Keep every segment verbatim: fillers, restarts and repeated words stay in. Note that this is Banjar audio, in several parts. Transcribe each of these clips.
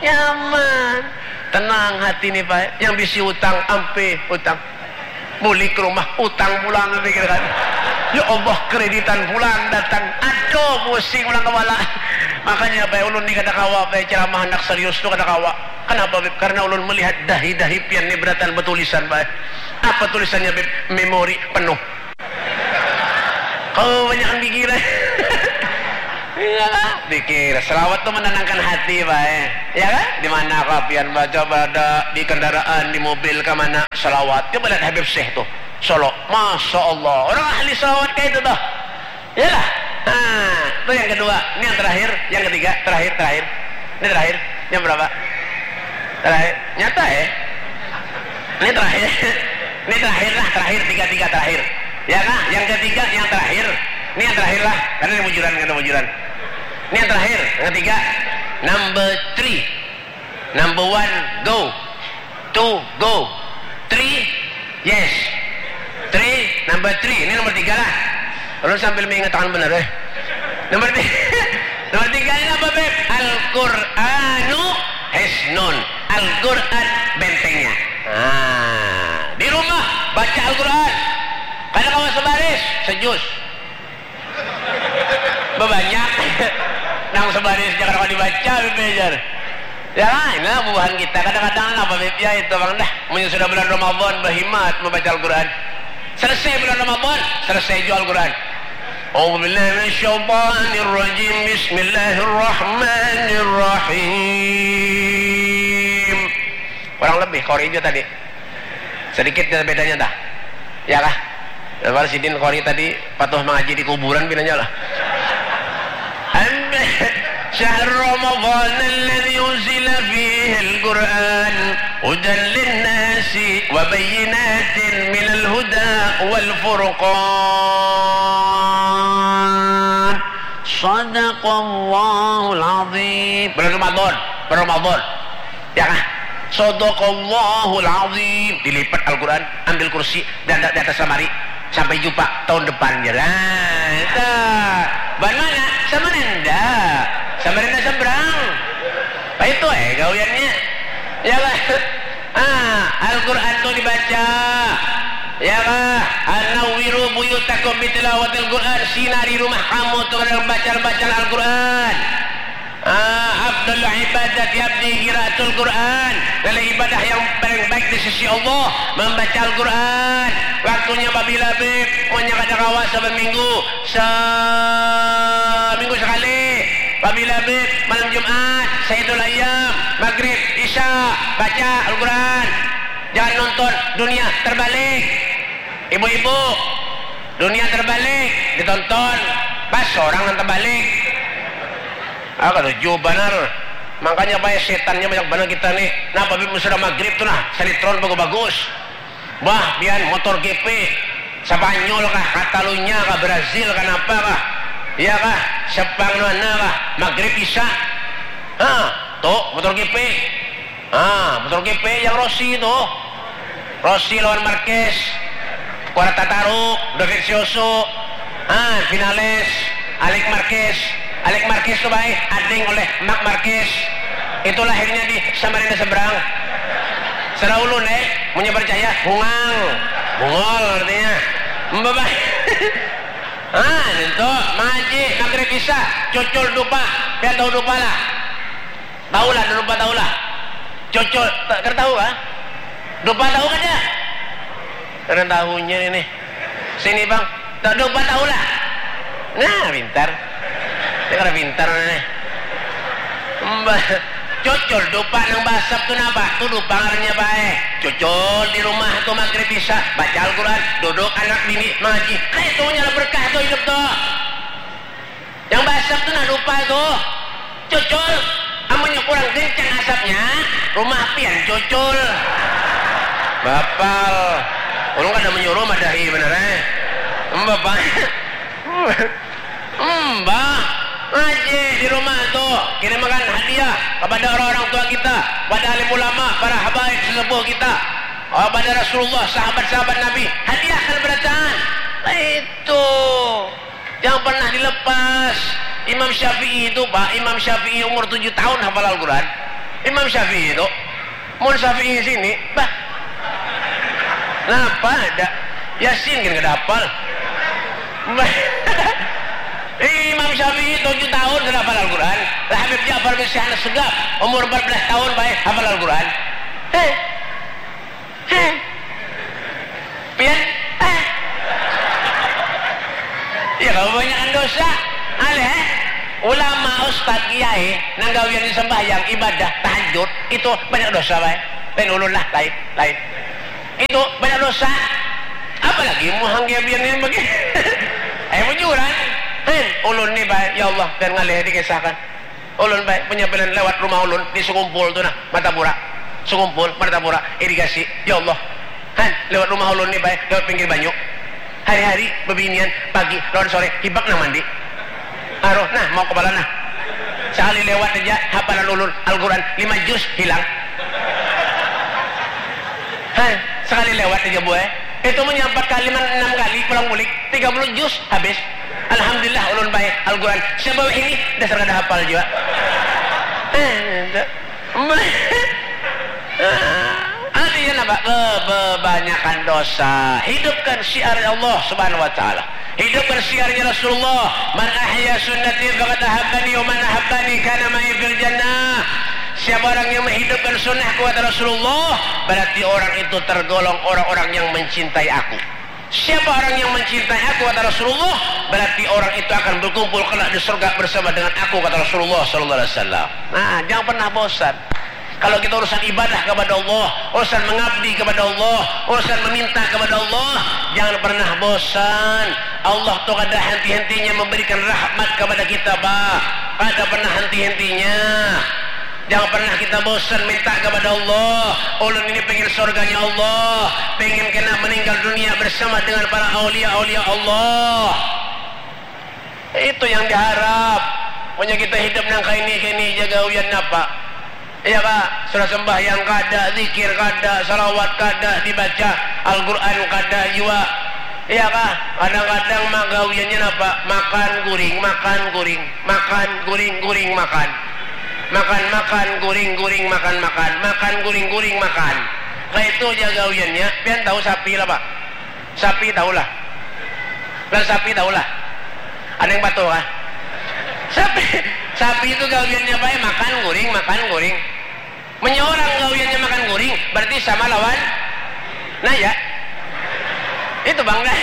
Nyaman. Tenang hati ni, Pak. Yang bisi utang, ampih utang. Bulik rumah, utang pulang, pikir kan. Ya Allah, kreditan pulang datang. Aduh, pusing pulang kepala. Makanya, Pak, ulun ni kada kawa, Pak, ceramah handak serius tu kada kawa. Kenapa, Beb? Karena ulun melihat dahi-dahi pian ni beratan betulisan, Pak. Apa tulisannya, Beb? Memori penuh. Kamu banyakan pikiran. Iya lah, pikir. Selawat tuh menenangkan hati, Pak, eh. Ya kan? Di mana kau pian baca, berada di kendaraan, di mobil, ke mana? Selawat. Coba lihat Habib Syekh tuh. Solo. Masya Allah. Orang ahli selawat kayak itu tuh. Iyalah. Nah, itu yang kedua. Ini yang terakhir, yang ketiga, terakhir, terakhir. Ini terakhir. Jam berapa? Terakhir. Nyata, eh? Ini terakhir. Ini terakhir lah, terakhir, tiga, tiga terakhir. Ya kah? Yang ketiga, yang terakhir. Ini yang terakhir lah. Karena ini bujuran, karena bujuran. Ini yang terakhir, yang ketiga. Number three. Number one, go. Two, go. Three, yes. Three, number three. Ini nomor tiga lah. Ulun sambil mengatakan benar, eh. Nomor tiga. Nomor tiga ini apa, Beb? Al-Qur'anu hisnun. Al-Qur'an bentengnya. Nah, di rumah baca Al-Qur'an. Kada kawa sebaris, sejus. Bebanyak. Nang sebaris jangan kawa dibaca, Beb, jar. Ya, inilah bubuhan kita. Kadang-kadang apa, Beb, ya itu, Bang, dah. Munnya sudah bulan Ramadan, berhimat membaca Al-Quran. Selesai bulan Ramadan, selesai jua Al-Quran. A'udzubillahi minasyaitonirrajim. Bismillahirrahmanirrahim. Kurang lebih, kori jua tadi. Sedikit ja bedanya, dah. Ya kah? Lepas sidin kori tadi patuh mangaji di kuburan pinanya lah. Syahr Ramadan alladzi unzila fihil Qur'an hudan linnasi wa bayyinatin minal huda wal furqan. Sadaqallahul azim. Bulan Ramadan, bulan Ramadan. Ya kah? Sadaqallahul azim. Dilipat Al-Quran, ambil kursi, dan di atas lamari. Sampai jumpa tahun depan, jar. Nah, itu. Ban mana? Samarinda. Samarinda seberang. Nah, itu, eh, gawiannya. Ya kah? Ah, Al-Quran tu dibaca. Ya kah? Anawwiru buyutakum bitilawatil Quran. Sinari rumah kamu tu dengan bacaan-bacaan Al-Quran. Ah, afdalu ibadati abdi qiraatul Quran. Nilai ibadah yang paling baik di sisi Allah membaca Al-Quran. Waktunya pabila, Bib? Munnya kada kawa saban minggu, saminggu sekali. Pabila, Bib? Malam Jumat, Sayyidul Ayyam, Maghrib, Isya, baca Al-Quran. Jangan nonton dunia terbalik. Ibu-ibu, dunia terbalik ditonton, pas orang nang terbalik. Ah, katuju banar. Makanya, Pak, setannya banyak banar kita nih. Nah, pabila sudah maghrib tu nah, sinetron bagus-bagus. Bah, pian, MotoGP, Spanyol kah, Catalunya kah, Brazil kah, napa kah? Iya kah? Sepang mana kah? Maghrib, Isya. Hah, tuh, MotoGP. Ah, MotoGP yang Rossi tu. Rossi lawan Marquez. Quartararo, Dovizioso. Ah, finales, Alex Marquez. Alex Marquez tu baik, ading oleh Marc Marquez. Itu lahirnya di Samarinda seberang. Serah ulun, eh, munnya percaya, bungang. Bungol artinya. Mbak, ah, itu, mangaji, maghrib, isya, cucul, dupa. Pian tahu dupa lah? Tahu lah, dupa tahu lah. Cucul, ta-, kada tahu kah? Dupa tahu kada? Kada tahunya ini. Sini, Bang. Ta-, dupa tahu lah. Nah, pintar. Ini kada pintar ini. Mbah, cucul dupa nang basap tu napa? Tu dupa ngarannya bae. Cucul di rumah tu maghrib isya, baca Al-Quran, duduk anak bini mangaji. Kaitu nya lah berkah tu hidup tu. Yang basap tu nah dupa tu. Cucul, amunnya kurang kencang asapnya, rumah pian cucul. Bapal. Ulun kada menyuruh madahi banar, eh. Mbah, Pak. Mbah, ngaji di rumah tu, kirimakan hadiah kepada orang-orang tua kita, pada alim ulama, para habaib sesepuh kita, kepada Rasulullah, sahabat-sahabat Nabi, hadiahkan berataan. Itu. Jangan pernah dilepas. Imam Syafi'i itu, Pak, Imam Syafi'i umur tujuh tahun hafal Al-Quran. Imam Syafi'i itu, mun Syafi'i sini, bah, napa ada? Yasin kan kada hafal. Bah, Imam Syafi'i tujuh tahun sudah hafal Al-Quran. Lah Habib Ja'far bin Syahna Segaf, umur empat belas tahun baik hafal Al-Quran. Heh. Heh. Pian? Eh. Ya, kalau banyakan dosa, aleh. Ulama, ustad, kiai, nang gawian sembahyang, ibadah, tahajud, itu banyak dosa, baik. Lain ulun lah, lain, lain. Itu banyak dosa. Apalagi muhang gawian ini bagi. Eh, bujuran. Heh, ulun ni, baik. Ya Allah, dan ngalih dikisahkan. Ulun baik, penyampaian lewat rumah ulun di Sekumpul tu nah, Martapura. Sekumpul, Martapura, irigasi. Ya Allah. Han, lewat rumah ulun ni baik, lewat pinggir banyu. Hari-hari bebinian, pagi lawan sore hibak nah mandi. Aroh nah, mau kepala nah. Sekali lewat aja hafalan ulun Al-Quran lima juz hilang. Han, sekali lewat aja buai. Itu menyampat kali enam kali pulang bulik, tiga puluh juz habis. Alhamdulillah ulun baik Al-Quran. Sebab ini dasar kada hafal juga. Eh, artinya apa? Kebanyakan dosa. Hidupkan syiar Allah Subhanahu wa Ta'ala. Hidupkan syiarnya Rasulullah. Man ahya sunnati faqad ahabbani wa man ahabbani kana ma'i fil jannah. Siapa orang yang menghidupkan sunnahku, kata Rasulullah, berarti orang itu tergolong orang-orang yang mencintai aku. Siapa orang yang mencintai aku, kata Rasulullah, berarti orang itu akan berkumpul kelak di surga bersama dengan aku, kata Rasulullah sallallahu alaihi wasallam. Nah, jangan pernah bosan. Kalau kita urusan ibadah kepada Allah, urusan mengabdi kepada Allah, urusan meminta kepada Allah, jangan pernah bosan. Allah tuh kada henti-hentinya memberikan rahmat kepada kita, Pak. Kada pernah henti-hentinya. Jangan pernah kita bosan minta kepada Allah. Ulun ini pengen surganya Allah, pengen kena meninggal dunia bersama dengan para aulia-aulia Allah. Itu yang diharap. Punya kita hidup nang kaini-kaini jaga uyan napa? Iya kah? Sudah sembahyang kada, zikir kada, salawat kada dibaca, Al-Quran kada jua. Iya kah? Kadang-kadang magawiannya napa? Makan guring, makan guring, makan guring, guring makan. Makan, makan, guring, guring, makan, makan. Makan, guring, guring, makan. Kayak itu aja gawiannya. Pian tahu sapi lah, Pak? Sapi tahu lah. Lah sapi tahu lah. Ada yang patuh kah? Sapi, sapi itu gawiannya apa ya? Makan guring, makan guring. Menyorang gawiannya makan guring, berarti sama lawan naya. Itu bang dah.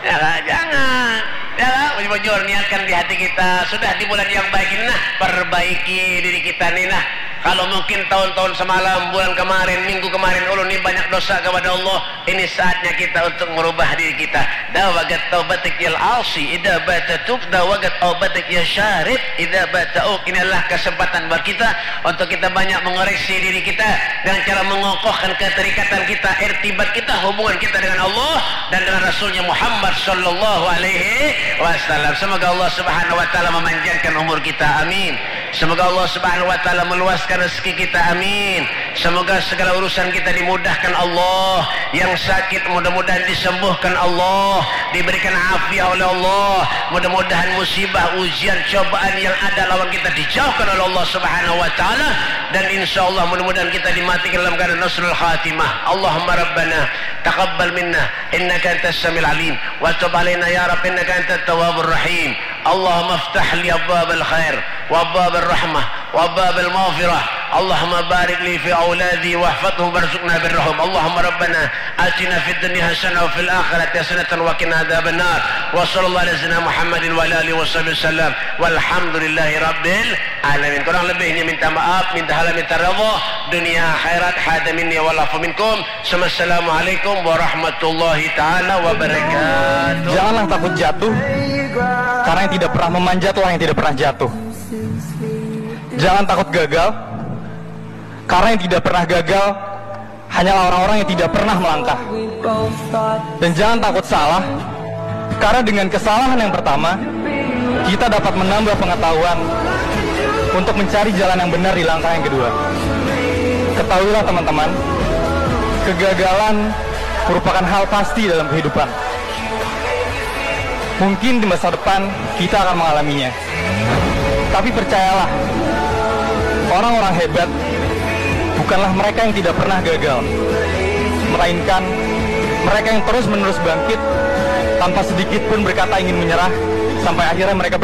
Ya lah, jangan. Ya lah, bujur-bujur niatkan di hati kita. Sudah di bulan yang baik ini nah, perbaiki diri kita nih nah. Kalau mungkin tahun-tahun semalam, bulan kemarin, minggu kemarin, ulun ini banyak dosa kepada Allah. Ini saatnya kita untuk merubah diri kita. Dawagat taubatik yal asi, ida bata tub, dawagat taubatik ya syarib, ida bata uk. Ini adalah kesempatan buat kita untuk kita banyak mengoreksi diri kita dengan cara mengokohkan keterikatan kita, irtibat kita, hubungan kita dengan Allah dan dengan Rasulnya Muhammad sallallahu alaihi wasallam. Semoga Allah Subhanahu wa taala memanjangkan umur kita. Amin. Semoga Allah Subhanahu wa taala meluaskan rezeki kita. Amin. Semoga segala urusan kita dimudahkan Allah. Yang sakit mudah-mudahan disembuhkan Allah, diberikan afiah oleh Allah. Mudah-mudahan musibah, ujian, cobaan yang ada lawan kita dijauhkan oleh Allah Subhanahu wa taala, dan insya Allah mudah-mudahan kita dimatikan dalam keadaan husnul khatimah. Allahumma rabbana taqabbal minna innaka antas samiul alim wa tub alaina ya rabb innaka antat tawwabur rahim. Allahumma iftah li abwabal khair wa abwabal rahmah wa abwabal maghfirah. Allahumma barik li fi auladi wahfadhum warzuqna birrahum. Allahumma rabbana atina fid dunya hasanah wa fil akhirati hasanatan wa qina adzabannar. Wa sallallahu ala sayyidina Muhammadin wa ala alihi wa sahbihi wasallam. Walhamdulillahi rabbil alamin. Kurang lebihnya minta maaf, minta halal, minta redha dunia akhirat. Hadza minni wal afu minkum. Assalamualaikum warahmatullahi taala wabarakatuh. Janganlah takut jatuh, karena yang tidak pernah memanjatlah yang tidak pernah jatuh. Jangan takut gagal, karena yang tidak pernah gagal hanyalah orang-orang yang tidak pernah melangkah. Dan jangan takut salah, karena dengan kesalahan yang pertama, kita dapat menambah pengetahuan untuk mencari jalan yang benar di langkah yang kedua. Ketahuilah teman-teman, kegagalan merupakan hal pasti dalam kehidupan. Mungkin di masa depan kita akan mengalaminya. Tapi percayalah, Orang-orang hebat bukanlah mereka yang tidak pernah gagal, melainkan mereka yang terus-menerus bangkit tanpa sedikit pun berkata ingin menyerah, sampai akhirnya mereka